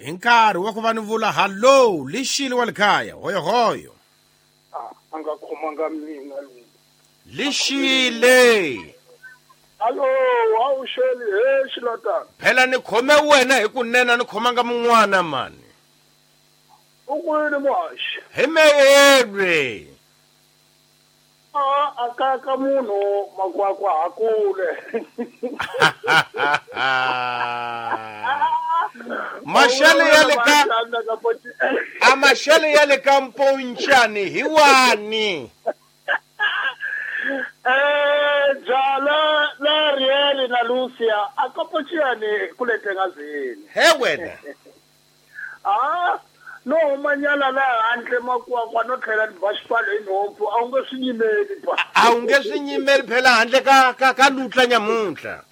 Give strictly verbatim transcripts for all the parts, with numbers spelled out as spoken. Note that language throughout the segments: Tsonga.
Hi nkarhi wa ku va ni vula hallo lixile wa le kaya hoyohoyo. A a nga khomanga mina loyi. Lixile. Allo, awuxeli he xilatana. Phela ni khome wena hi kunene ni khomanga mun'wana mani. U kwini muhaxi? Hi meyelwe. A a ka ka munhu makwakwa hakule. Mashele ya le ka a mashele ya le ka Mponchani hi wani. Eh jala la Riel na Lucia a ka Mponchani kule tengazini. He wena. Ah no manyala la handle makwakwa no tlhela ni ba xipfalo hi nhompfu a wu nge swi nyimeli ba. A wu nge swi nyimeli phela handle ka ka ka lutla nyamuntlha.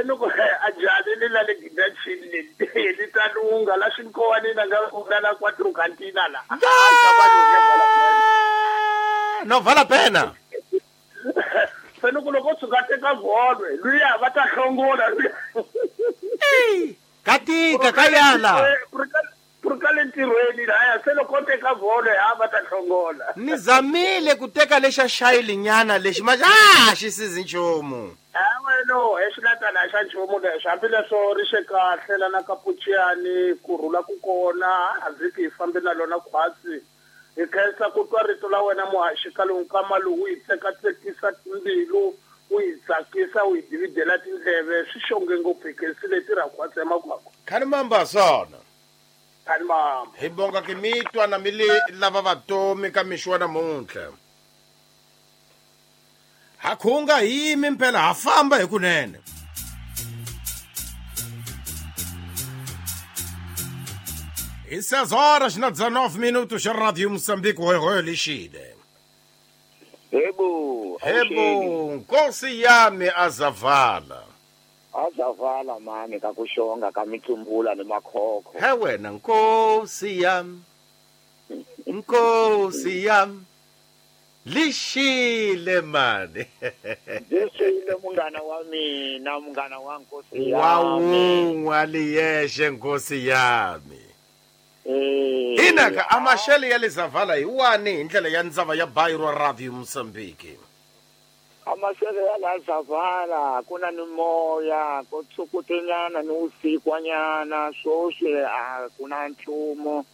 Loko a jali le la le gidachini le li ta lunga la xinkowanini nga nga la quattro cantina la. No vala pena. Se loko loko tshuka teka volwe luya va ta hlongola luya. Ey, katika kayala. Purkale ntirhweni laya se loko teka volwe ha va ta hlongola. Ni zamile ku teka lexa xayili nyana lexi ma ah xi sizi nchumu. No, exilatana xa nchumu lexi hambileswo ri xe kahle lana ka Mponchani ku rhula ku kona a vhiki hi fambi na lona khwatsi hi khensa ku twa rito la wena muhaxi ka lowu nkama lowu hi tsekatsekisa mbilu wu hi tsakisa wu hi dividela tindleve swi xonge ngopfu hi khensile tirha khwatsi emakwakwa. Khani mamba swona. Khani mamba. Hi bonga ki mi twa na mi le lava vatomi ka mixo wa namuntlha. Ha khunga yimi mpela ha famba hi kunene. Hi seis horas na dezenove minutos xa Radio Moçambique hoyohoyo lixile. Hebo, hebo, nkosi yami azavala. Azavala mani ka kuxonga ka mitsumbula ni makhokho. He wena nkosi yami. Nkosi yami. Lixile mani. Lixile munghana wa mina, munghana wa nkosi yami. Wa wun'we liyexe nkosi yami. Eh. Inaka amashele ya lezavala hi wani hi ndlela ya ndzava ya Bairo Radio Moçambique. Amashele ya lazavala kuna ni moya ko tsukutenyana ni usikwanyana swoswi a kuna nchumu.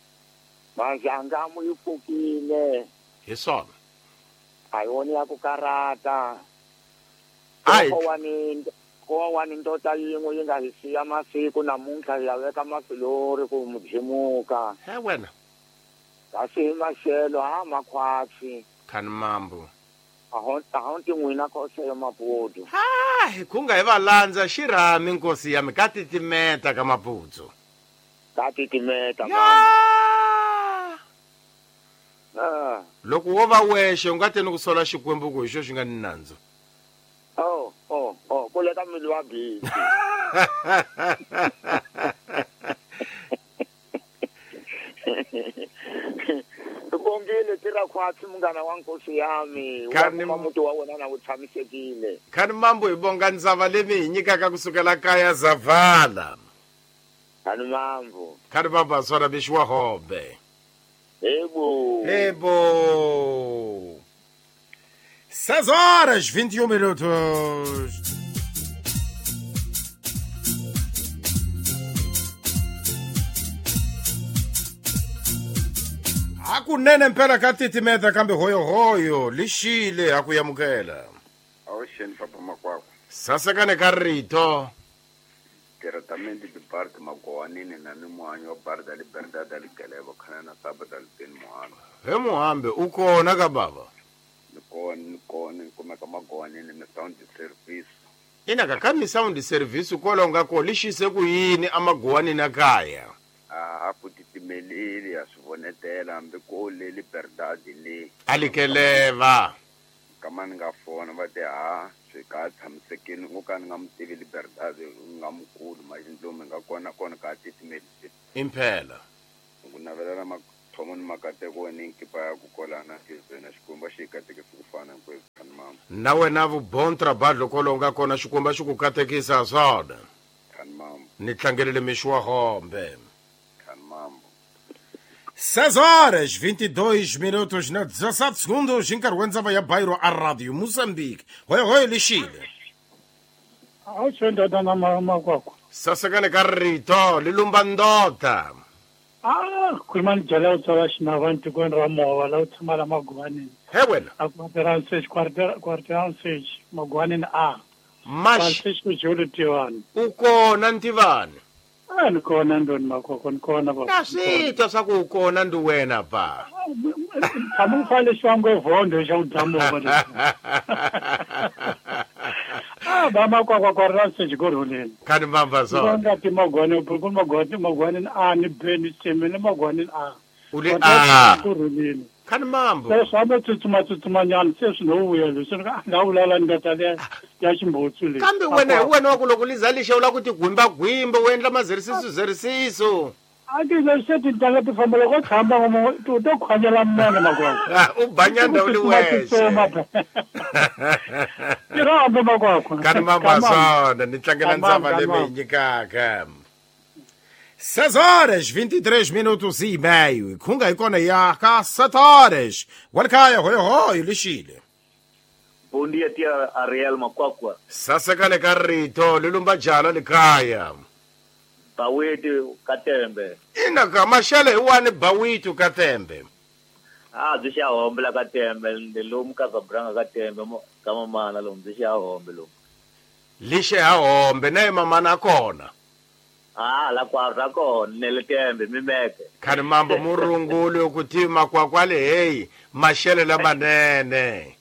Mazangamu yi pfukile. Hi swona. Ayoni ya ku karata. Ai. Ko wani ndota yin'we yi nga hi siya masiku namuntlha hi ya veka mafilori ku mudzimuka. He wena. Kasi hi maxelo ha makhwatsi. Khani mambo. A honti n'wina khoseyo Maputo. Ha, hi khunga hi va landza xirhami nkosi yami ka titimeta ka Maputo. Ka titimeta mama. Ah. Loko wo va wexe u nga teni ku sola Xikwembu ku hi xo xi nga ni nandzu. Oh, oh, oh, kule ka mbilu wa busy. Kongile tira khwatsi munghana wa nkosi yami, wa kuma muti wa wena na wu tshamisekile. Khani mambo hi bonga ndzava leyi hi nyikaka kusukela kaya Zavala. Khani mambo. Khani mambo aswara bixiwa hombe. Hebo. Hebo. seis horas, vinte e um minutos. Hakunene mpela ka titimeta kambe hoyohoyo lixile ha ku yamukela. Awuxeni papa makwakwa. Sasekane ka rito. Diretamente de parte magowanini na ni muhanyi wa bar da Liberdade da Likeleva khana na saba da Liteni Muhambe. He Muhambe u kona ka baba. Ni kona ni kona ni kumeka magowanini mi sound service. Ina ka ka mi sound service kwalaho nga ko lixise ku yini amagowanini a kaya. A ku titimeleli ya swi vonetela hambi ko le Liberdade le. A Likeleva. Kama ni nga fona va te ha swi ka tshamisekile ngo ka ni nga mutivi Liberdade nga mukulu majindlomi nga kona kona ka titimeleli. Impela. Ku navelela mathomo ni makateko ni nkipa ya ku kolana na Xikwembu xi katekisa ku fana hinkwerhu khani mama. Na wena vu bon trabalho kwalaho nga kona Xikwembu xi ku katekisa swona. Khani mama. Ni tlangelele mixo wa hombe. seis horas vinte e dois minutos na dezassete segundos em Carwenza vai a Bairro a Rádio Moçambique. Oi, oi, Lixile. Sasakale carrito, lilumbandota. Ah, khulumani jala utsala xinavanti kweni ra mova la u tshama la Magwanini. He wena. A quarter quarter quarter six Magwanini A. Mash. Six ku jolo Tivani. U kona Ntivani. A ni kona ndoni makoko ni kona ba. Na swi twa swa ku u kona ndi wena ba. Tshama u fane xwango evondo xa u dya mova leswi. Ah, ba makwakwa kwa ra six go rhuleni. Khani mamba zona. Nga ti Magwani ku Magwani Magwani A ni B ni C ni Magwani A. U le A. Ku rhuleni. Khani mambo. Se swa ma tsutsuma tsutsuma nyana se swi no vuya leswi nga nga vulala ni nga ya ya ximbotsu leyi. Kambe wena hi wena wa ku loko liza lixa u la ku ti gwimba gwimba u endla mazerisiso zerisiso. A ti leswi tintangha ti famba loko tshamba ngo to to khwanyela mona makwakwa. U banyanda u li wexe. Ti rhamba makwakwa. Khani mamba zona ni tlangela ndzava leyi mi nyikaka. seis horas vinte e três minutos e meio. Khunga hi kona ya ka sete horas. Walkaya hoyo hoyo lixile. Bom dia tia Ariel Makwakwa. Sasekale ka rito lilumba jala likaya. Bawitu Katembe. Ina ka mashele hi wani Bawitu Katembe. Ah, byi xa hombe la Katembe, ndi lomu ka Zabranga Katembe ka mamana lomu byi xa hombe lomu. Lixe ha hombe na mamana kona. Ah, la kwa kona nele Tembe mimeke. Khani mambo murungulu kuti makwakwale hey mashele lamanene.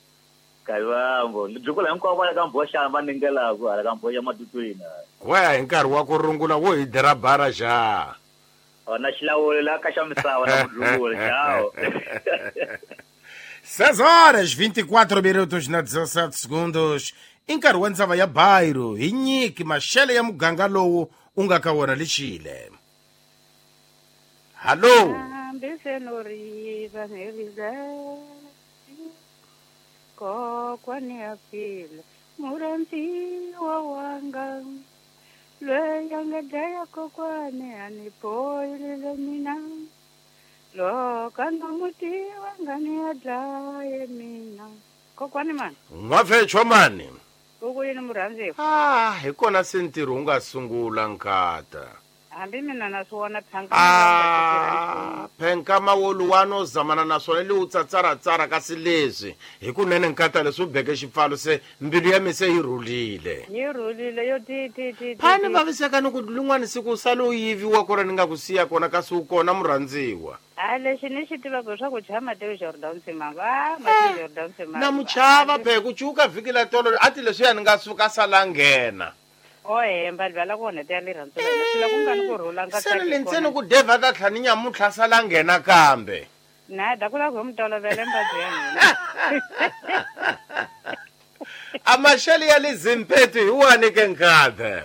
Kayivambo, ndzi hinkwavo va ka mbhoxa va ningelaka hala ka mbhoxa matutwini. Waya hi nkarhi wa ku rungula wo hi dira bara xa. Na xilawuli la ka xa misava na mudlunguli tchau. seis horas vinte e quatro minutos na dezassete segundos. I nkarhi wa ndzava ya Bairro hi nyiki maxele ya muganga lowu u nga ka wona lixile. Hallo. Kokwani ya phila murandziwa wanga loyi a nga dlaya kokwani a ni bohile mina loko a nga n'wi tiva nga ni ya dlaye mina kokwani mani n'wafechwa mani ku ku yini murhandziwa ah hi kona se ntirho wu nga sungula nkata hambi mina na swi vona phanka ah phenka mawoluwani o zamana na swona li u tsatsaratsara kasi leswi hi kunene nkata leswi u beke xipfalo se mbilu ya mi se yi rhulile yi rhulile yo ti ti ti phani vaviseka ni ku lin'wani siku u sale u yiviwa kona ni nga ku siya kona kasi u kona murhandziwa a lexi ni xi tivaka leswaku chava Mateo Jordan Simanga a Mateo Jordan Simanga na muchava phe ku cuka vhiki la tolo a ti leswiya ni nga suka sala nghena o hemba livala ku onheta ya rirhandzu la ku nga ni ku rhula nga se ni ntsena ku deva ta tlhani nyamuntlha sala nghena kambe na da ku lava ku mi tolovela mbabyi ya hina a maxele ya le Zimpetu hi wani ke nkathe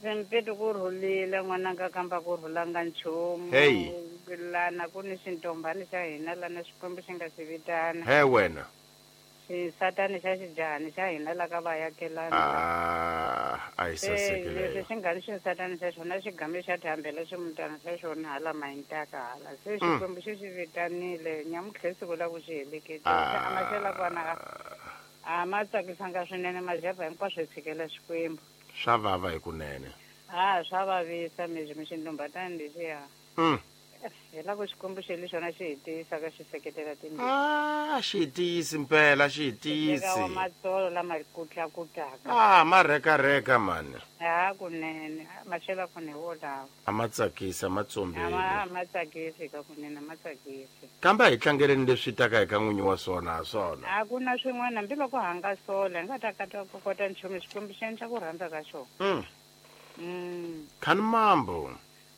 Zimpetu ku rhulile n'wananga kamba ku rhulanga nchumu hey lana ku ni xintombani xa hina lana Xikwembu xi nga xi vitana he wena xisatani xa xijahani xa hina la ka vayakelani ah a yi sasekile leswi xi nga ni xisatani xa xona xigame xa thambela ximutana xa xona hala mahintaka hala se Xikwembu xi xi vitanile nyamuntlha siku la ku xi heleketile a maxela kwana a ma tsakisanga swinene majapa hinkwaswo hi tshikela Xikwembu swa vava hikunene a swa vavisa mizwi mi xintombatani lexiya mm. hi la ku Xikwembu xi le xona xi hi tiyisaka xi seketela timbilu ah xi tiyisi mpela xi tiyisi wa matsolo lama kutlakutaka ah ma reka reka mani ha kunene maxela kona hi wolawo a ma tsakisa ma tsombile a ma tsakisi ka kunene ma tsakisi kambe a hi tlangeleni leswi taka hi ka n'winyi wa swona ha swona a ku na swin'wana hambiloko ha nga sola hi nga ta kata ku kota nchumu Xikwembu xi endla ku rhandza ka xona mm. mm. Khani mambo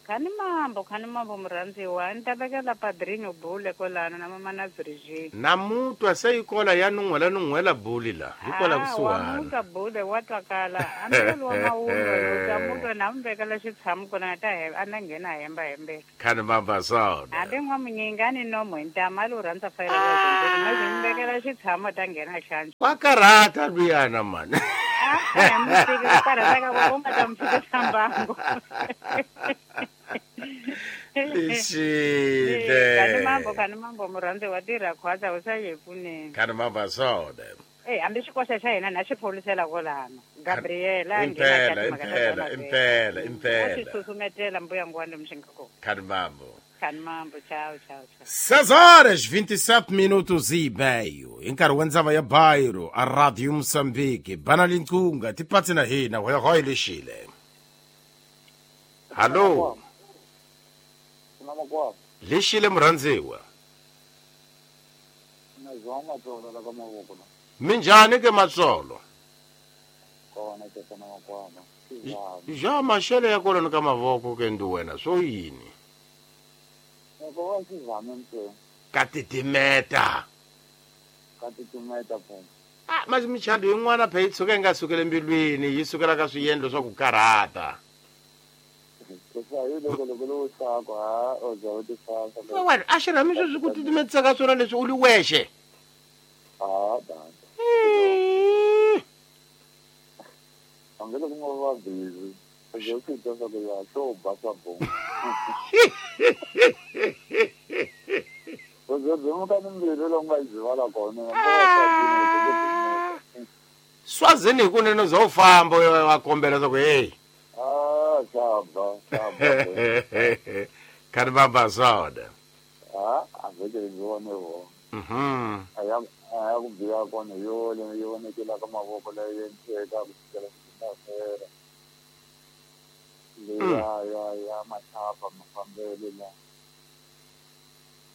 Khani mambo khani mambo murhandziwa ni ta vekela padrinho bule kwalano na mama na Virgin na mutwa se yi kola ya nun'hwela nun'hwela buli la hi kola kusuhani wa mutwa bule wa twakala hambilelo wa mawundo ta mutwa na mu vekela xitshamo kona ta a na nghena hemba hembela khani mamba swona hambi n'wamunyinga ni nomo hi ntama a lo rhandza fayela ma byi mu vekela xitshamo ta nghena xandla wa karhata luyana mani a mu fiki ku karhateka ku u nga ta mu fikisa mbangu Lixile. Kani mambo kani mambo murhandzi wa tirha khwatsa u sa ye pfuneni. Kani mambo swona. Eh hambi xikoxa xa hina na xi pholisela kwalano. Gabriela impela impela impela impela. Xi susumetela mbuya ngwani mxinga ko. Kani mambo. Kani mambo tchau tchau tchau. seis horas vinte e sete minutos e meio. Em nkarhi wa ndzava ya Bairro, a Rádio Moçambique, bana linkunga tipatsi na hina hoya hoy lixile. Hallo. Lixile murhandziwa. Minjhani ke matsolo? Ja maxele ya kona ka mavoko ke ndi wena swo yini? Ka titimeta. Ka titimeta po. Ah, mas michado yin'wana phe yi tshuka yi nga sukeli mbilwini yi sukela ka swiendlo swa ku karhata. Wena a xi rhami sweswi ku titimetisa ka swona leswi u li wexe. Ah, dai. Angelo ku nga va busy. Yo swi twa swa ku ya swo ba swa bo. Uzo byimuka ni mbilu lowu nga byivala kona. Swazini hi kunene zo famba wa kombela swa ku hey. Ah, swa ba, swa ba. Kani baba swona. Ah, a veke byi vone ho. Mhm. Aya aya ku biya kona yo le yo vonekela ka mavoko leyi endleka ku fikela ku leya ya ya machapa mafambelo la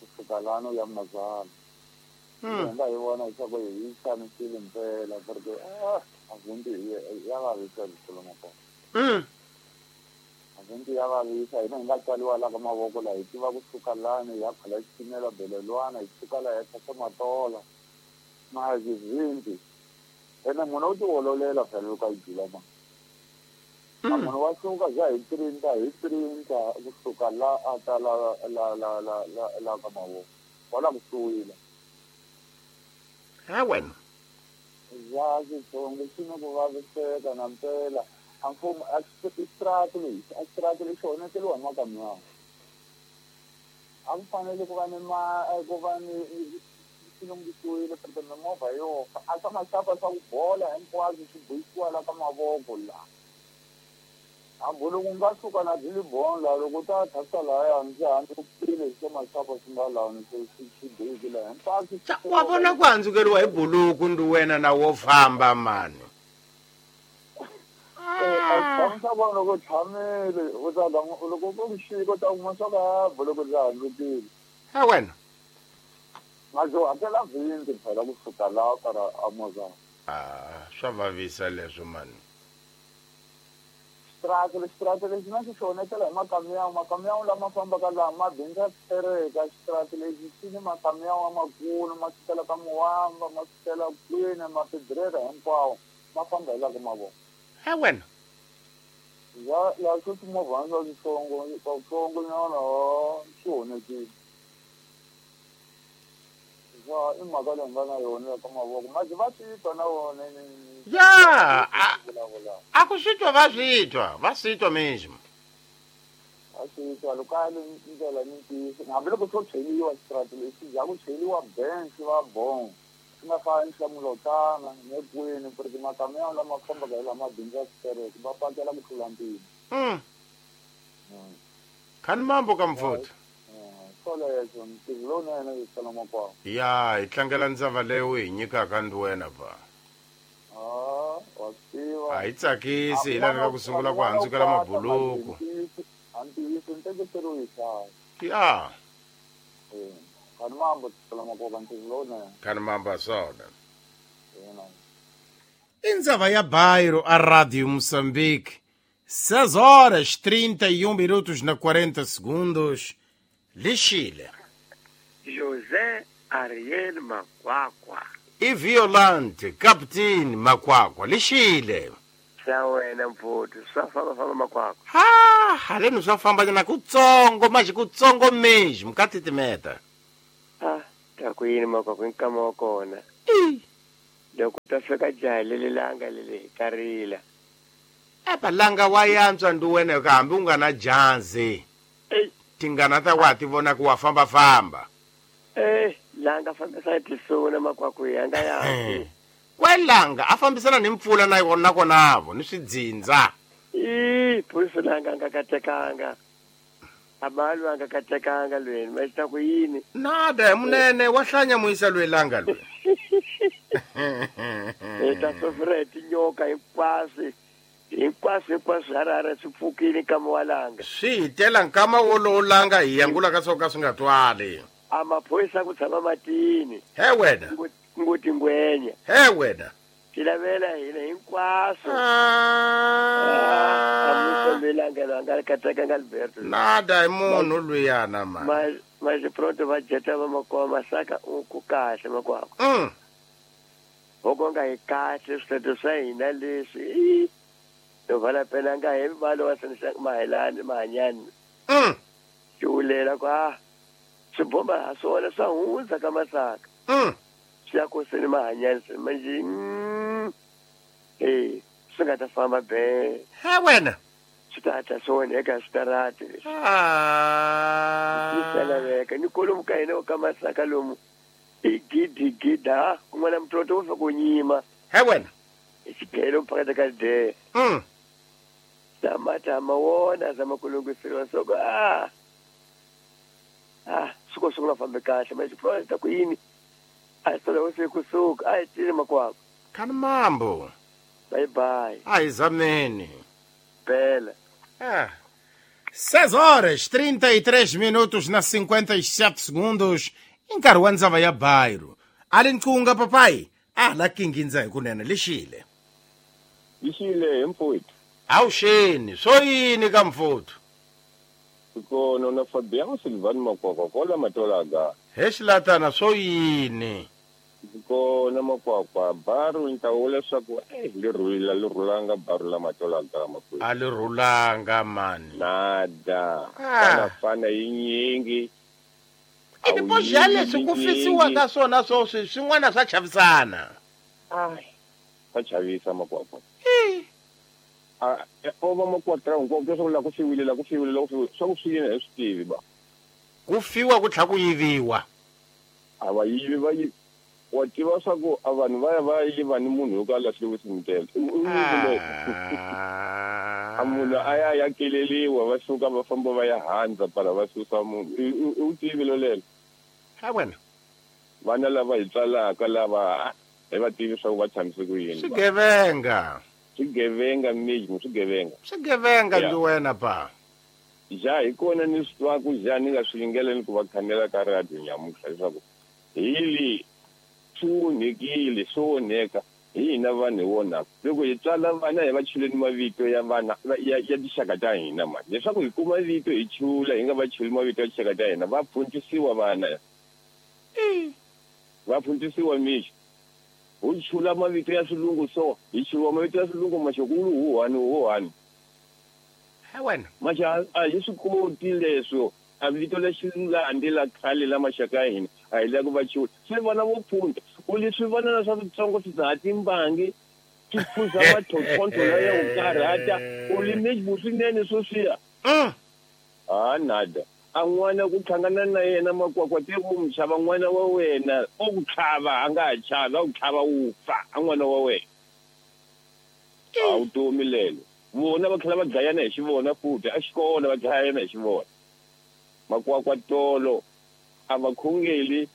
kusuka lano ya mazala nga hi vona leswaku hi xanisile mpela porque ah avundi ya vavisa swilo kona avundi ya vavisa hina hi nga tswariwa la ka mavoko la hi tiva kusuka lani ya khala xitimela belelwana hi suka la ya tshasa matola mazivindi ene munhu u tiololela phela loko a yi jula ma munhu wa suka bya hi printa hi printa kusuka la a ta la la la la la la ka mavoko wala kusuhila ha wena ya xitsongo xi na ku vaviseka na mpela a mfumo a xitrati lexi a xitrati lexi onheteliwa hi makamyana a ku fanele ku va ni ma ku va ni swi lunghisiwile porque mimovha yo fa a swa maxapa swa ku bola hinkwaswo swi boyisiwa la ka mavoko la hambi loko u nga suka na byi la loko u ta thasa lahaya ndzi handzukile swa maxapa swi nga lani swi swi boyikile hinkwaswo wa vona ku handzukeriwa hi buluku ndi wena na wo famba mani a swa vona loko tshamile u ta loko ku xika u ta kuma swa ka buluku byi handzukile ha wena mazo hakela vhindi phela kusuka laha kara a ah swa vavisa leswo mani xitrati xitrati lexi na xi xonetela hi makamyawu makamyawu lama fambaka laha ma bindza tereka xitrati lexi xi ni makamyawu lamakulu ma sukela ka muwamba ma sukela kwini ma fedrera hinkwawo ma famba hi la ka mavoko ha wena ya ya swi timovhana swa switsongo switsongo nyana swi onhekile ya i mhaka leyi nga na yona ya ka mavoko mazi va swi twa na wona ya a ku swi twa va swi twa va swi twa mesmo a swi twa loko a li ndlela ni ntiyiso hambiloko swo cheliwa xitrati lexi bya ku cheliwa bench va bon swi nga fani swa mulotana ne kwini porque makamyawu lama fambaka hi lama bindzu ya xitereke va pakela ku tlula mpimo khani mambo ka mfuthu swoleswo ntirho lowunene hi sala makwavo ya hi tlangela ndzava leyi u hi nyikaka ndi wena va ah wa swi tiva a yi tsakisi hi laveka ku sungula ku handzukela mabuluku a ntiyiso ntekiseriwi hi hlaya ya khani mambo sala makwavo ntirho lowunene khani mambo swona indzava ya Bairro a Rádio Moçambique seis horas trinta e um minutos na quarenta segundos. Lixile. José Ariel Makwakwa. E Violante, Captain Makwakwa. Lixile. Sa wena mfuti, swa famba famba Makwakwa. Ha, haleno swa famba na kutsongo, mas kutsongo mesmo, katitimeta. Ah, ta ku yini Makwakwa nkama wa kona. Loko ta fika jaha leli langa leli ka rila. Epa langa wa yantswa ndi wena hambi u nga na jazi. Ei. Tingana ta wa ti vona ku wa famba famba. Eh, langa fambisa tisona makwaku yanga ya. Kwelanga a fambisana ni mpfula na yona konavo ni swidzindza. Eh, pulisa langa nga katekanga. Abalu anga katekanga lweni, mashita ku yini? Nada, munene wa hlanya muisa lwelanga lwe. Eh, ta sofre tinyoka hinkwaswo. Hinkwaswo hinkwaswo harare swi pfukile nkama wa langa. Swi hitela nkama wolowo langa hi yangula ka swo ka swi nga twali. A maphorisa ku tshama matini. He wena. Ngoti ngwenya. He wena. Tilavela hina hinkwaswo. Ah. Amumelanga langa katekanga Alberto. Nada hi munhu luyana ma. Ma ma pronto va jeta va makwa masaka ku kahle makwako. Mm. Hoko nga hi kahle switete swa hina leswi. To vala pela nga hi valo wa sanisa mahelani mahanyani. Mm. Xulela kwa swibomba ha swona swa hundza ka masaka. Mm. Swi ya koseni mahanyani manje. Eh, swi nga ta famba be. He wena. Swi ta ta swona eka switarati leswi. Ah. Swi laveka ni kolomu ka hina ka masaka lomu. I gidi gida kun'wana mtoto wo fika ku nyima. He wena. Xigelo phakathi ka de. Mm. Tamata mawona zama kulungisiriwa soko ah. Ah, suko suko nga fambi kahle manje project ku yini? A sala wo se kusuka a tile makwako. Kan mambo. Bye bye. Ai zameni. Bela. Ah. seis horas trinta e três minutos na cinquenta e sete segundos. Nkarhi wa ndzava ya bairo. Ali nqunga papai. Ah la kingindza hi kunene lixile. Lixile mfowethu. Awuxeni, swo yini ka mfowethu? Kona na Fabiano Silvano Makwakwa kola matolaga. He xilatana swo yini? Kona Makwakwa baru ntawula swaku eh lirula lirulanga baru la matolaga makwethu. A lirulanga mani. Nada. Fana fana yinyingi. I tipoxa leswi ku fisiwa ka swona swo swin'wana swa chavisana. Ai, swa chavisa Makwakwa. Ah, o va makwatra hinkwaku swa ku la ku fiwile la ku fiwile la ku fiwile swa ku swi yini hi swi tivi ba. Ku fiwa ku tlha ku yiviwa. A va yivi va yivi. Wa tiva swa ku a vanhu va ya va yiva ni munhu yo ka lahliwe swimutele. A munhu a ya ya keleliwa va suka va famba va ya handza para va susa munhu. U tivi lolelo. Ha wena. Vana lava hi tswalaka lava hi va tivi swa ku va tshamise ku yini. Swigevenga. Swigevenga miji swigevenga. Swigevenga ndi wena pa. Ja hi kona ni swi twaku ja ni nga swi yingeleni ku va khanela ka radio nyamuhla leswaku hi li swi onhekile swi onheka hi hina vanhu hi vonaka loko hi tswala vana hi va chuleni mavito ya vana ya ya tinxaka ta hina mani leswaku hi kuma vito hi chula hi nga va chuli mavito ya tinxaka ta hina va phuntisiwa vana va phuntisiwa mixo hu chula mavito ya swilungu so hi chula mavito ya swilungu maxokulu huhani huhani he wena maxa a hi swi koti leswo a vito la xilandi la khale la maxaka ya hina a hi la ku va chula se vana vo phunta u leswi vana na swa switsongo swi dzaha timbangi swi phuza matlhotlhontlho la ya ku karhata u li swinene sweswiya a nada a n'wana ku hlangana na yena Makwakwa te ku mu xava n'wana wa wena o ku tlhava a nga ha chavi a ku tlhava wu fa a n'wana wa wena a vutomi lelo vona va tlhela va dlayana hi xivona futhi a xikolo va dlayana hi xivona Makwakwa tolo a va khongeli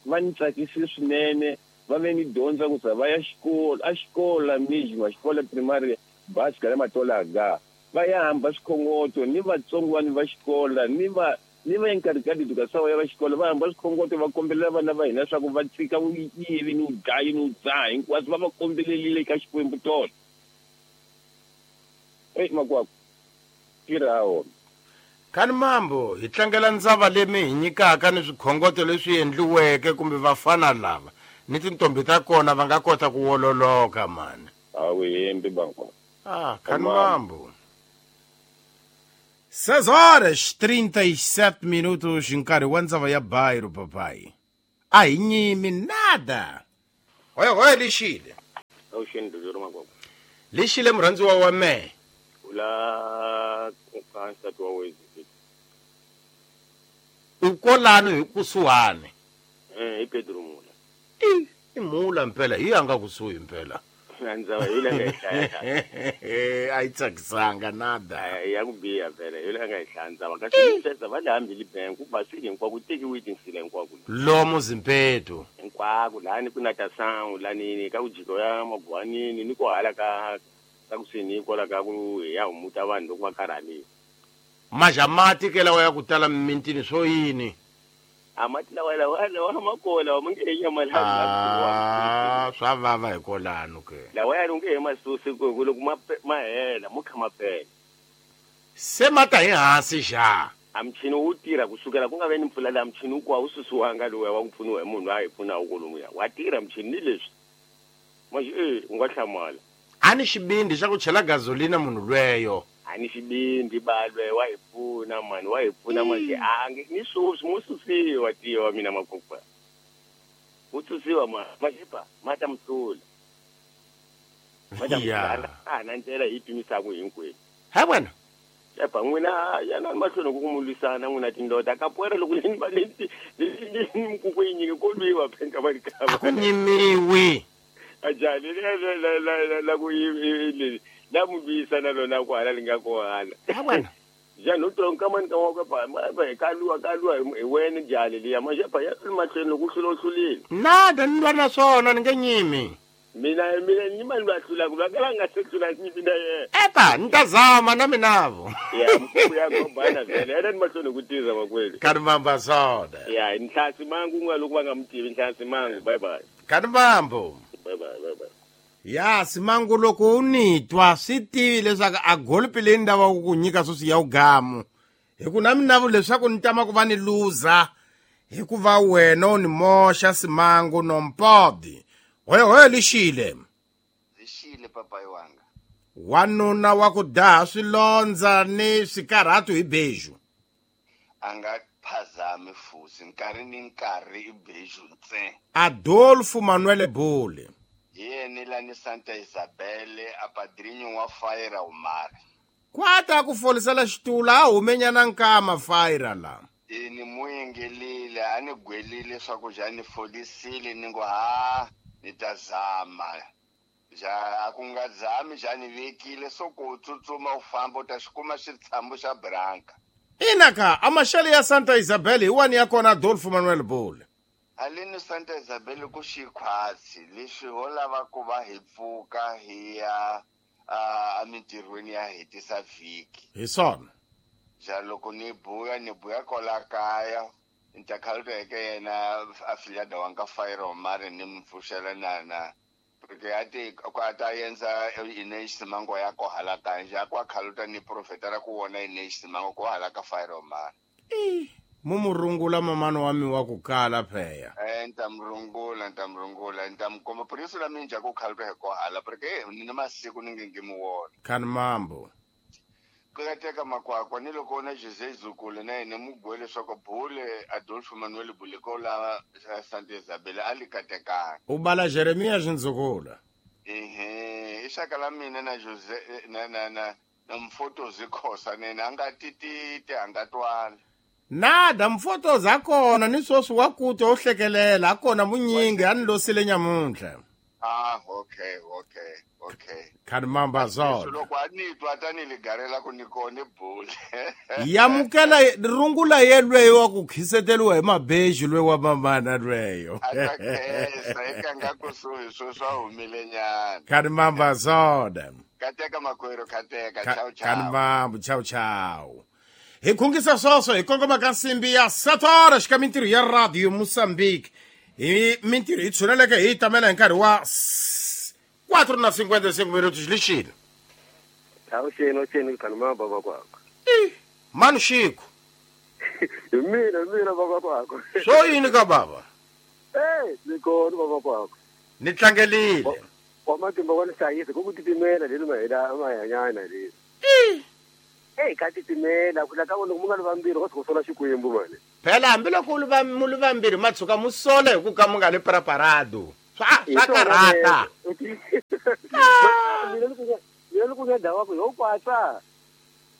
va ni tsakisi swinene va ve ni dyondza ku za va ya xikolo a xikolo mijima xikolo primary basi ka le matolaga va ya hamba swikhongoto ni vatsongo vanhu va xikolo ni va ni va enkarhi ka ya va xikolo va hamba swikhongoto va kombelela vana va hina leswaku va tshika vuyivi ni vudlayi ni vudzaha hinkwaswo va va kombelelile eka Xikwembu tolo. Ei Makwakwa tirha wona. Kani mambo hi tlangela ndzava leyi mi hi nyikaka ni swikhongoto leswi endliweke kumbe vafana lava ni tintombi ta kona va nga kota ku wololoka mani. A wu hembi Makwakwa. Ah, kani mambo. seis horas trinta e sete minutos nkarhi wa ndzava ya bairo papai. A hi nyimi nada. Hoya hoya lixile. Awuxeni Dodoro Makwakwa. Lixile murhandziwa wa mehe. Ula ka nsati wa wena. Kolano hi kusuhani. Eh i Pedro Mula. I i Mula mpela hi anga kusuhi mpela. Ndzava hi la nga hi hlaya. A yi tsakisanga nada. Ya ku biha vhele hi la nga hi hlaya ndzava kasi sweswo va le hambili bank ku basile hinkwako tekiwe tinsila hinkwako. Lomu Zimpeto. Hinkwako lani ku na ta sangu lani ka ku jiko ya magwanini ni ko hala ka ka kusini kwala ka ku ya humuta vanhu loko va karhalile. Majamati ke lawa ya ku tala mimintini swo yini? A mati lawa lawa lawa makola ma nge nyamalala. Ah, swa vava hi kolano ke. Lawa ya nge he masusi ku loko ma ma hela mo khama phela. Se mata hi hansi xa. A mchini wu tirha kusukela ku nga ve ni mpfula la mchini wu kwa wu susiwanga lowu wa ku pfuniwa hi munhu a hi pfuna kolomuya. Wa tirha mchini ni leswi. Manje eh u nga hlamala. A ni xibindi xa ku chela gasolina munhu lweyo. Ani xibindi balwe wa hi pfuna mani wa hi pfuna manje a nge ni susi mo susiwa tiwa mina makokwa. Wu susiwa ma maxipa ma ta mutula. Ma ta mutula a na ndlela hi pimisaka hinkwenu. Ha wena. Epa n'wina yana mahlweni ku mu lwisana n'wina tindota ka poera loko ni va ni ni mkuku yi nyike ko lwiwa phenka va ka. Ku nyimiwi. Ajali la la la la ku yi la mu lwisana lona ku hala li nga ko hala. Ha wena. Ja no tronka mani ka wa ka ba ba ka lwa ka lwa hi wena jali liya manje pa ya mahlweni loko hlula hlulile. Nada ni lwa na swona ni nge nyimi. Mina mina ni mali lwa hlula ku va ka nga se hlula ni mina yena. Epa ni ta zama na minavo. Ya mkhubu ya gombana vele yena ni mahlweni ku tirha makweli. Kanimamba swona. Ya nhlasi mangu nga loko va nga mutivi nhlasi mangu bye bye. Kanimambo. Bye bye bye bye. Ya simangu loko u ni twa swi tivi leswaku a golpi leyi ni lavaka ku nyika sweswi ya ugamu. Hi ku na minavo leswaku ni tama ku va ni luza hikuva wena u ni moxa simangu nompodi. Hoyo hoyo lixile. Lixile papayi wanga. Wanuna wa ku daha swilondza ni swikarhatu hi beju. A nga phazami fusi nkarhi ni nkarhi i beju ntsena. Adolfo Manuel Bule. Yena lani Santa Isabel a padrinho wa Faira Umar. Kwata ku folisela xitula a humenyana nkama Faira la. E ni muyengelile a ni gwelile swa ku ja ni folisile ni ngo ha ni ta zama. Ja a ku nga zami ja ni vekile so ku tsutsuma u famba u ta xi kuma xitshambo xa branka. Ina ka a maxele ya Santa Isabel hi wani ya kona Adolfo Manuel Bule. Alini Santa Isabel ku xikhwatsi leswi ho lava ku va hi pfuka hi ya emintirhweni ya hetisa vhiki. Hi swona. Ja loko ni buya ni buya kwala kaya ni ta khaluteke yena afiliada wa nka Faira Omar ni mi pfuxela na na porque a ti ku a ta endza Inês Simango ya ko hala kanje a kwa khaluta ni profeta ra ku vona Inês Simango ko hala ka Faira Omar. Eh mumurungula mamano wa mi wa ku kala pheya. Eh ntamrungula ntamrungula ntamkomba por isso la minja ku khaluta hi ko hala porque ni na masiku ni nge nge mu wona. Kan mambo. Ku ya teka makwakwa ni loko na José Zukulu na yena mu gwele swa ku Bule Adolfo Manuel Bule ko la Santa Isabel a li katekanga. U bala Jeremias Nzukula. Ehe i xaka la mina na José na na na na mfoto zikhosa nena a nga tititi a nga twala. Nada mfoto zakona ni sweswi wa kuta u hlekelela akona munyingi a ni losile nyamuntlha. Ah okay okay okay. Kanimamba zona. Loko a ni twa tani ligarela ku ni kone Bule. Yamukela rungula yelweyo wa ku khiseteriwa hi mabeji lwe wa mamana lweyo. A ta khensa eka nga kusuhi swo swa humile nyana. Kanimamba zona. Kateka makwero kateka ciao ciao. Kanimambo ciao ciao. Hi khungisa sweswo hi kongoma ka nsimbi ya sete horas ka mintirho ya Radio Moçambique. Hi mintirho yi tshuneleke hi tamela hi nkarhi wa quatro na cinquenta e cinco minutos lixile. Awuxeni awuxeni Kanimamba makwakwa. Eh manu Xiku. Hi mina mina makwakwa. Swo yini ka baba? Eh ni kona makwakwa. Ni tlangelile. Wa matimba wa ni hlayisa ku ku titimela leli mahela mahanyana leli. Eh Hey, ka titimela ku la ka loko mu nga li vambirhi ko sola xikwembu mani. Phela hambiloko u li va mu li vambirhi ma tshuka mu sola hi ku ka mu nga li preparado. Swa swa karhata. Mina loko mina loko nga ndhawu ku yo kwatsa.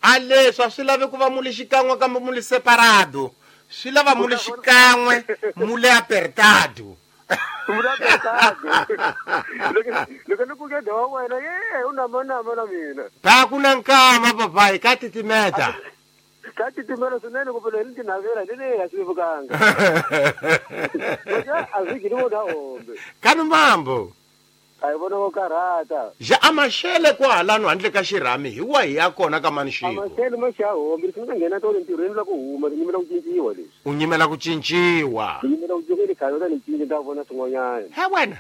A leswi a swi lavi ku va mu li xikan'we kambe mu li separado. Swi lava mule xikan'we mule apertado. Mule apertado. Loko ni ku ke wa wena ye u na mana mana mina. Ba ku na nkama papai ka titimeta. Ka titimela swinene ku phela ni tinavela ni le ya swi vukanga. A swi gini vona hombe. Kani mambo. A hi vona ko karhata. Ja amashele kwahalano handle ka xirhami hi wahi ya kona ka manxiko. Amashele ma xa hombe swi nga nghena tolo ntirhweni la ku huma ni nyimela ku cinciwa leswi. U nyimela ku cinciwa. Ni nyimela ku cinciwa ni khale ni cinci ta vona swin'wanyana. He wena.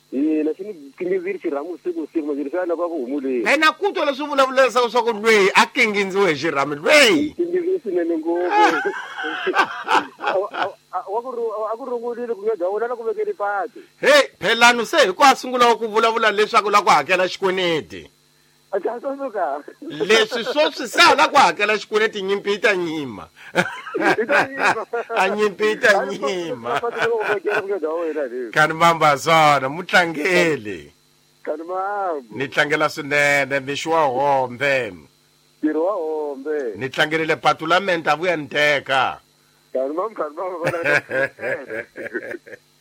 Ina xi ni kingindzile xirhami usiku usiku manje leswi a lava ku humuleni. Wena ku twa leswi vulavulesa swa ku lweyi a kingindziwe hi xirhami lweyi. Kingindziwe swinene ngopfu. Wa ku a ku rungulile ku nga wona la ku vekeli patu. Hey, phelano se hi ku a sungula ku vulavula leswaku la ku hakela xikweleti. Leswi swoswi se la ku hakela xikweleti nyimpi yi ta nyima. A nyimpi yi ta nyima. Kani mamba swona mutlangeli. Kani mambo. Ni tlangela swinene mixo wa hombe. Ntirho wa hombe. Ni tlangerile patu la menta vuya ni teka. Kani mambo kani mambo.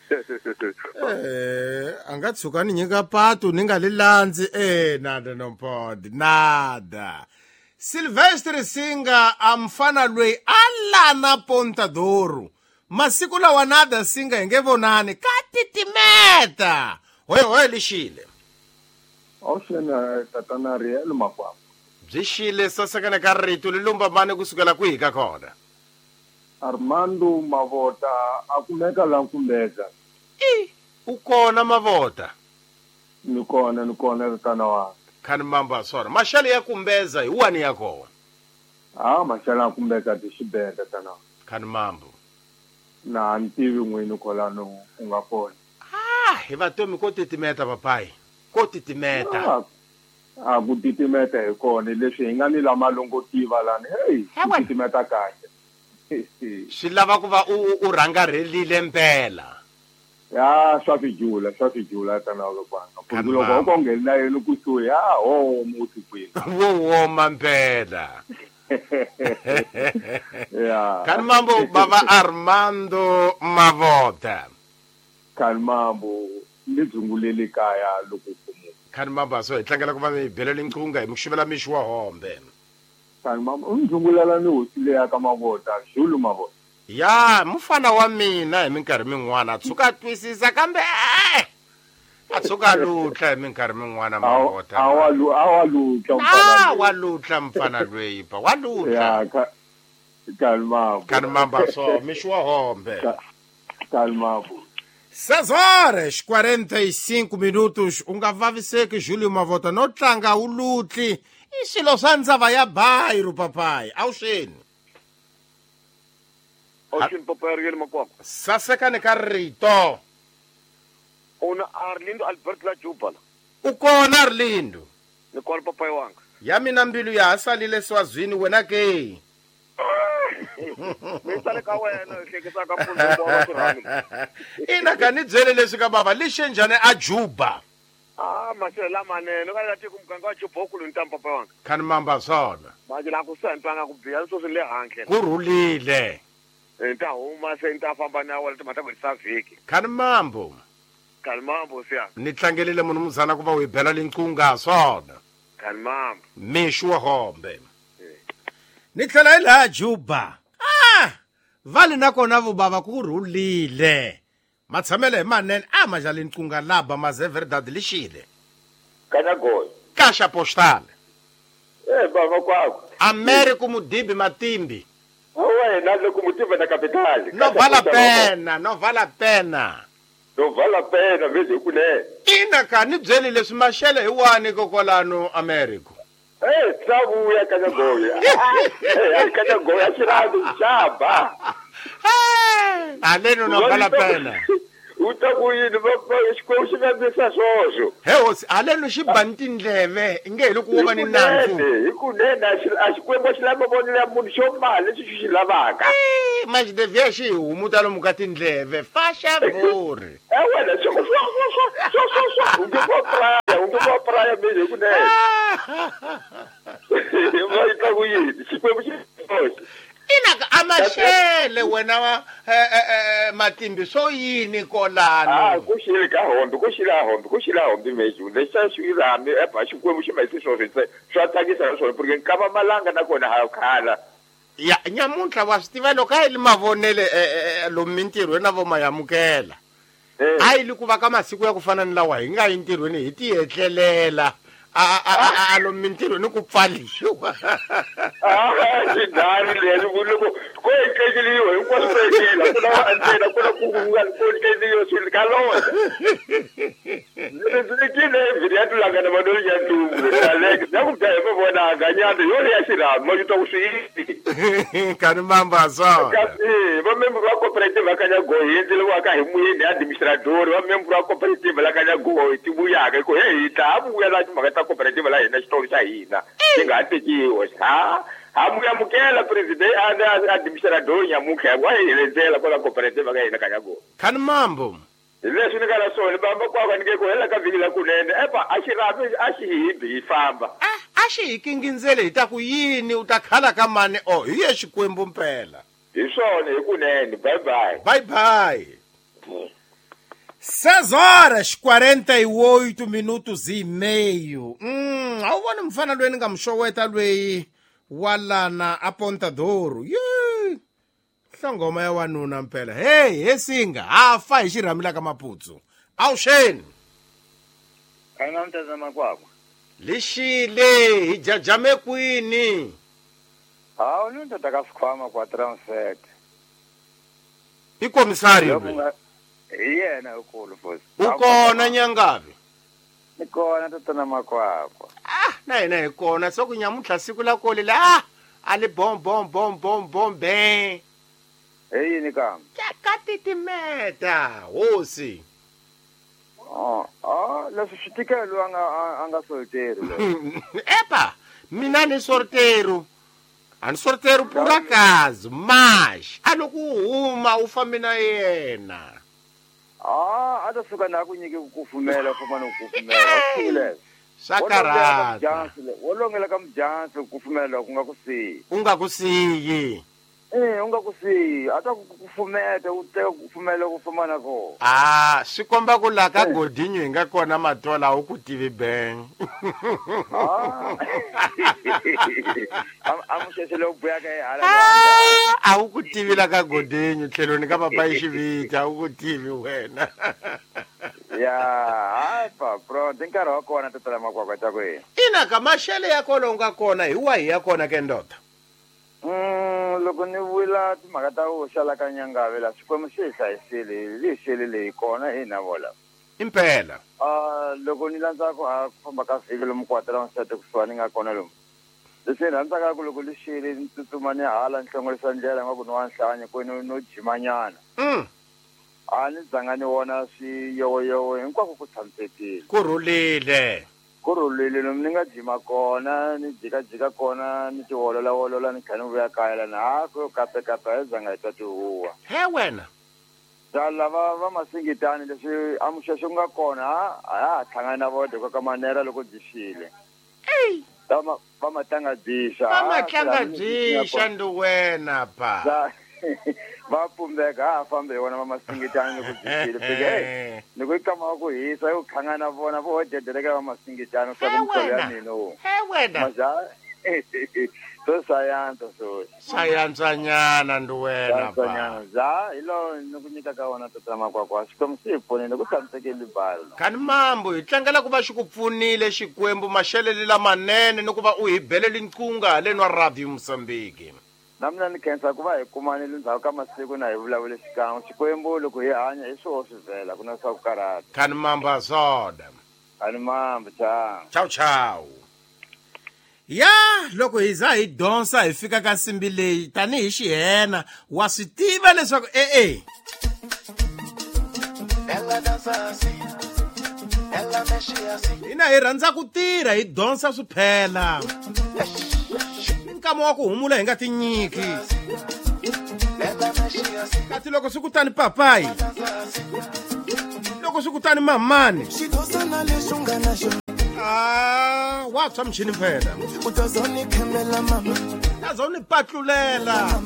Eh, a nga tshuka ni nyika patu ni nga li landzi eh nada no pod nada. Silvestre Singa a mfana lweyi a lana Pontadoro. Masiku lawa nada Singa hi nge vonani ka titimeta. Hoye hoye lixile. Awuxena tatana Riel Makwakwa. Byi xile sasekana ka rito li lumba mani kusukela kwihi ka kona. Armando Mavota a kumeka la Nkumbeza. I u kona Mavota. Ni kona ni kona tatana wa. Kani mamba swona. Maxele ya Kumbeza hi wani ya kona. Ah maxele ya Kumbeza ti xibenda tatana. Kani mambo. Na ni tivi n'wini kolano u nga kona. Ah hi vatomi ko titimeta papai. Ko titimeta. A ku titimeta hi kona leswi hi nga ni lama longo tiva lani. Hey, titimeta kahle. Swi lava ku va u u rhangarhelile mpela. Ya swa fijula swa fijula tana lokwana. Ku loko u kongela yena kusuhi ya ho musi kwini. Wo woma mpela. Ya. Kani mambo baba Armando Mavota. Kani mambo ni dzungulele kaya loko kumu. Kani mambo so hi tlangela ku va mi belele nqunga hi mixivela mixi wa hombe. Kani mambo u ndzungulela ni hosi leya ka Mavota, Zulu Mavota. Ya, mufana wa mina hi minkarhi min'wana a tshuka a twisisa kambe a tshuka a lutla hi minkarhi min'wana Mavota. A wa lu a wa lutla mfana. A wa lutla mfana lweyi pa, wa lutla. Ya, ka kani mambo. Kani mambo so mixi wa hombe. Kani mambo. Seis horas quarenta e cinco minutos. U nga vaviseki Júlio Mavota no tlanga u lutli. I swilo swa ndzava ya Bairro papai. Awuxeni. Awuxeni papai Riel Makwakwa. Sasekani ka rito. Una Arlindo Albert la Jubala. U kona Arlindo. Ni kona papai wanga. Ya mina mbilu ya ha salile swazwini wena ke. Mi sale ka wena hlekisa ka mpfundzu wa xirhami. Ina ka ni byele leswi ka baba lixe njhani a Juba. Ah maxele lamanene ka la tiko muganga wa Juba u kulu ntampa papa wanga. Kani mamba swona. Manje la ku sentanga ku biya swo swi le handle. Ku rhulile. Nta huma se nta famba na wena timhaka ku sa vhiki. Kani mambo. Kani mambo siya. Ni tlangelile munhu muzana ku va u hi bela linqunga swona. Kani mambo. Mixi wa hombe. Ni tlhela hi laha Juba. Ah! Vale na kona vubava ku rhulile. Matshamele hi manene a ma jali nqunga laba maze verdade lixile. Kana goy. Kasha postal. Eh baba kwakho. Americo Mudibi Matimbi. Wena loko mutiva na capital. No vale a pena, no vale a pena. No vale a pena veze kunene. Ina ka ni byele leswi maxele hi wani kokwalano Americo. Eh tsavuya kana goya. Eh kana goya xirado xaba. Eh aleno no vale a pena. U ta ku yini va xikwembu xi nga swoswo. He hosi aleno xi ba ni tindleve nge hi loko wo va ni nandzu. Hi kunene a xikwembu xi lava vonela ya munhu xo mali lexi xi xi lavaka. Mas devia xi humuta lomu ka tindleve fa xavuri. Eh wena swo swo swo swo swo swo u nge vo praya u nge vo praya mina hi kunene. Va yi ta ku yini xikwembu xi Ina ama maxele wena wa matimbi swo yini kolano ah ku xile ka hombi ku xile hombi ku xile hombi meju lexa xi rami epa xikwembu xi mai swo swi swa tsakisa swona porque nkava malanga na kona ha khala ya nyamuntlha wa swi tiva loko a yi li mavonele lomu mintirhweni na vo mayamukela a yi li ku va ka masiku ya ku fana ni lawa hi nga yi ntirhweni hi ti etlelela a a a lomu mintirhweni ku pfaliwa ah xidari leli ku loko ko etleliwa hinkwaswo swo etlela ku na ntsena ku na ku nga ku etleliwa swi ka lona ndzi vhiri ya tulangana madoli ya ntumbu aleke ya ku dya hi mavona ganyana yo ya xirhami ma twa ku swi yini kani mamba swona kasi va member va cooperative va Kanyagoyi hi endlele wa ka hi muyeni administrator va member va cooperative la Kanyagoyi ti vuyaka ku hey hi ta vuya la timhaka ta cooperative la hina xitolo xa hina xi nga ha tekiwa ha ha muyamukela president a administrator nyamutlha wa hi heledzela kwala cooperative ka hina Kanyagoyi kani mambo leswi ni nga na swona bamba kwaka ni nge ku hela ka vhiki la kunene epa a xi rhavi a xi hibi hi famba a xi hi kingindzele hi ta ku yini u ta khala ka mani o hi ye xikwembu mpela hi swona hi kunene bye bye bye bye seis horas quarenta e oito minutos e meio mm a wu voni mfana loyi ni nga mu xoweta loyi wa lana a Pontadoro ye hlongoma ya wanuna mpela hey he singa ha fa hi xirhami ka Maputsu awuxeni kana mtazama kwakwa lixile hi jajame kwini hawu ni ndoda ka swikhwama kwa transfer i komisari hi yena ukulu futhi u kona nyangavi ni kona tatana Makwakwa ah na hina hi kona so ku nyamuntlha siku la kole la ah a li bom bom bom bom bom be hi yini kambe ka titimeta hosi oh ah leswi swi tikelo a nga a nga solteri epa mina ni sortero a ni sortero por acaso mas a loko u huma u fambi na yena ah a ta suka na ku nyike ku kufumela u famba no kufumela swa karhata wo longela ka mujansi ku kufumela ku nga ku siyi u nga ku siyi eh u nga ku siyi a ta ku kufumeta u teka ku kufumela ku famba na kona ah swi komba ku la ka Godinho hi nga kona matola a wu ku tivi beng a muxexele u buyaka hi hala a wu ku tivi la ka Godinho tlhelweni ka papa yi xivita a wu ku tivi wena ya hayi pa pronto i nkarhi wa kona tatana Makwakwa ta ku yini ina ka maxele ya kona u nga kona hi wahi ya kona ke ndoda Mm, loko ni vula timhaka ta ku xala ka Nyangave la Xikwembu xi hi hlayisile li xele leyi kona hina vola impela ah loko ni landza ku ha ku famba ka vhiki lomu kwatela nsati kusuhani nga kona lomu leswi rhandzaka ku loko li xele ni tsutsuma ni hala ni hlongorisa ndlela nga ku ni wa nhlanya ku no no jimanyana mm. a ni dzanga ni vona swiyowoyowo hinkwako ku tshamisekile ku rhulile ku rhulile lomu ni nga jima kona ni jikajika kona ni tiwolola wolola ni kha ni vuya kaya lana ha ku yo kapekape a hi zanga hi twa tihuwa he wena ta lava va masingitani leswi a muxexo ku nga kona a ha hlangana na vona ka manera loko byi xile va ma va matlanga byisa va matlanga byisa ndi wena pa va pumbeka ha fambe hi vona va masingitani loko byi xile fike ni ku i kama ku hisa yo khangana na vona vo dedeleka va masingitani swa ku mitsolo ya mina wo he wena maja so sayansa so sayantsanyana ndi wena pa za hi lo ni ku nyika ka wona tatana Makwakwa Xikwembu xi hi pfunile ku tshamisekile balo kani mambo hi tlangela ku va xi ku pfunile Xikwembu maxelele lamanene ni ku va u hi belele nqunga haleni wa Radio Mozambique na mina ni khensa ku va hi kumanile ndzhaku ka masiku na hi vulavule xikan'we Xikwembu loko hi hanya hi swoho swi vhela ku na swa ku karhata kani mambo azoda kani mambo ciao ciao ciao ya loko hi za hi donsa hi fika ka nsimbi leyi tanihi xihena wa swi tiva leswaku e-e hina hi rhandza ku tirha hi donsa swiphela nkama wa ku humula hi nga tinyiki kasi loko swi kutani papayi loko swi kutani mamani ah wa tshwa muchini phela tazoni patlulela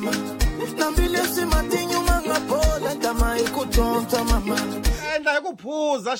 ku tontswa mama Endla hi ku phuza.